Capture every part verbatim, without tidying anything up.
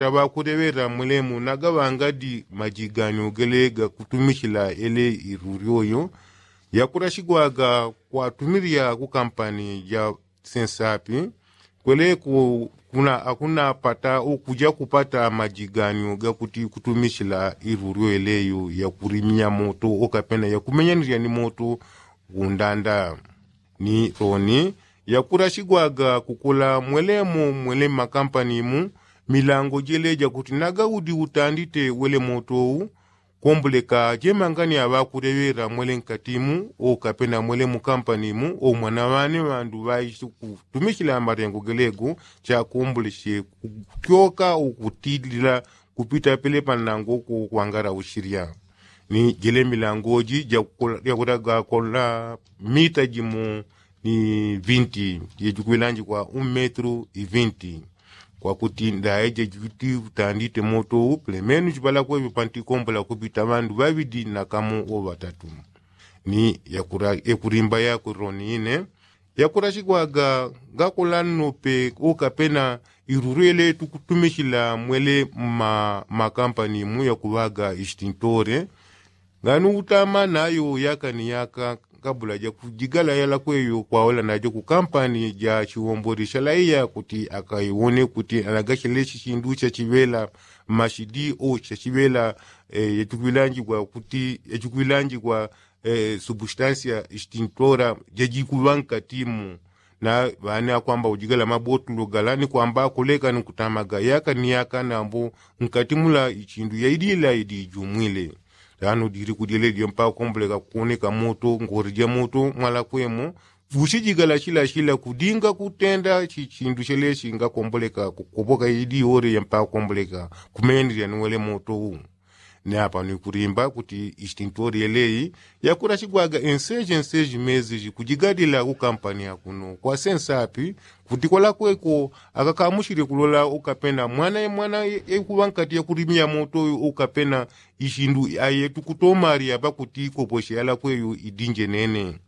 Taŵakuleŵela mwelemu nagaŵangadi majiganyo gele gakutumichila ele iruryoyo yakulasigwaga kwatumilila kukampani ja sensapi kweleku. Akuna apata ukuja kupata majiganyo gakuti kutumichila iruryo eleyo yakulimia moto okapena yakumenyanilya ni moto kundanda ni loni yakulasigwaga kukula mwelemu mwele mmakampani mu milango jele jakuti nagaudi utandite wele moto u. Komboleka jemangani aŵakuleŵela mwele nkati mu okapena mwele mukampani mu omwana ŵane ŵandu ŵaishi kutumichila malengo gelego chakomboleche kutyoka ukutilila kupita pele panango kukwangala uchilya ni jele milango ji jakulaga kola mita jimo ni vinti jejikwilanjikwa un metru i vinti. Kwakuti ndaye jejikuti utandite moto u pele menu jiŵalakweŵyo pantikombola kupita ŵandu ŵaŵidi na kamo o ŵatatu. Ni yakulimba yakuliloni ine yakulasigwaga gakola nnope okapena iruryo ele tukutumichila mwele mmakampani mu yakuŵaga istintore. Ngani utama nayo yaka ni yaka kabula jakujigala yalakweyo kwaola najo kukampani ja chiwombole chalaiya kuti akaiwone kuti anagachelechi chindu chachiŵela mashidi o chachiŵela. Yachikwilanjikwa kuti yachikwilanjikwa substansia istintora jajikuŵa nkati mu. Na ŵani akwamba ujigala mabotulo gala ni kwamba akoleka ni kutamaga yaka ni yaka nambo nkati mula ichindu yaidila idijumwile. Tano dili kudyele dyo mpaka kukomboleka kukoneka moto ngori ja moto mwala kwemo. Fusi jigala chila chila kudinga kutenda chichindu chele chinga komboleka kukopoka idi ore ya mpaka komboleka kumendelya ni wele moto u. Ni apa ni kulimba kuti istintori yeleyi yakula chigwaga enseji enseji mezi jikujigadila kukampani akuno kwa sensapi kuti kwalakweko akakamushile kulola ukapena mwana ye mwana ye kuŵa nkati yakulimia moto ukapena ishindu aye tukutomali apa kuti koposhe yalakweyo idinje nene.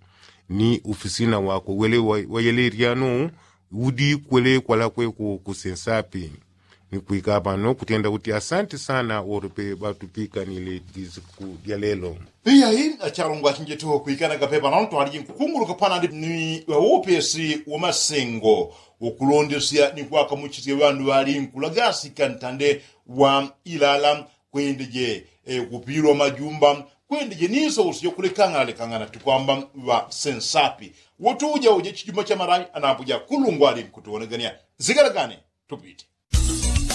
Ni ufisina wakwe wele wayele lyano udi kwele kwalakweko kusensapi. Ni kwika pano kutenda kuti asanti sana oro pe ŵatupikanile disiku dya lelo. Iyayi achalongwa achinjeteho kwikana kapepa nano twaliji nkukunguluka panandi ni ŵaupesi wa masengo ukulondesya ni kwakamuchisya ŵandu ŵali nkulagasi kantande wa ilala kwendeje kupilwa majumba kwendeje niso usijo kulekangana lekangana tukwamba ŵa sensapi. Wotuja uje chijuma cha marayi anapuja kulungwali nkutuwonegania zigalagane. Tupite.